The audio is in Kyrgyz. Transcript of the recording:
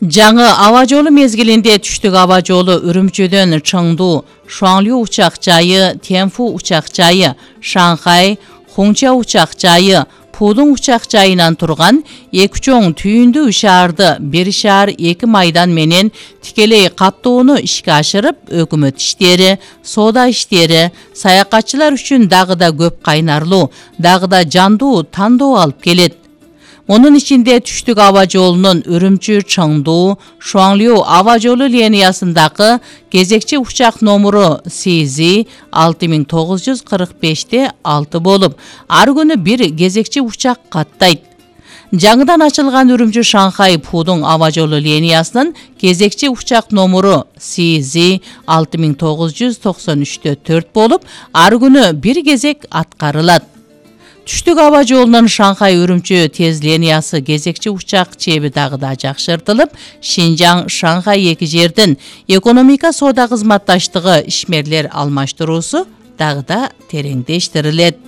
Жаңы аба жолу мезгилинде түштүк аба жолу Үрүмчүдөн Чыңду, Шуанлю учак жайы, Тянфу учак жайы, Шанхай, Хунча учак жайы, Пудун учак жайынан турган эки чоң түйүндүү шаарды бир шаар 2 майдан менен тикелей каттоону ишке ашырып, өкмөт иштери, соода иштери, саякатчылар үчүн дагы да көп кайнарлуу, дагы да жандуу тандоо алып келет. Мунун ичинде түштүк аба жолунун Үрүмчү Чыңду, Шуанлю аба жолу линиясындагы кезекчи учак номуру CZ 6945-6 болуп, ар күнү бир кезекчи учак каттайт. Жаңыдан ачылган Үрүмчү Шанхай Пудун аба жолу линиясынын кезекчи учак номуру CZ 6993-4 болуп, ар күнү бир кезек аткарылат. Түштүк аба жолунун Шанхай Үрүмчү тез линиясы кезекчи учак чеби дагы да жакшыртылып, Шинжаң Шанхай эки жердин экономика соода кызматташтыгы ишмерлер алмаштыруусу дагы да тереңдештирилет.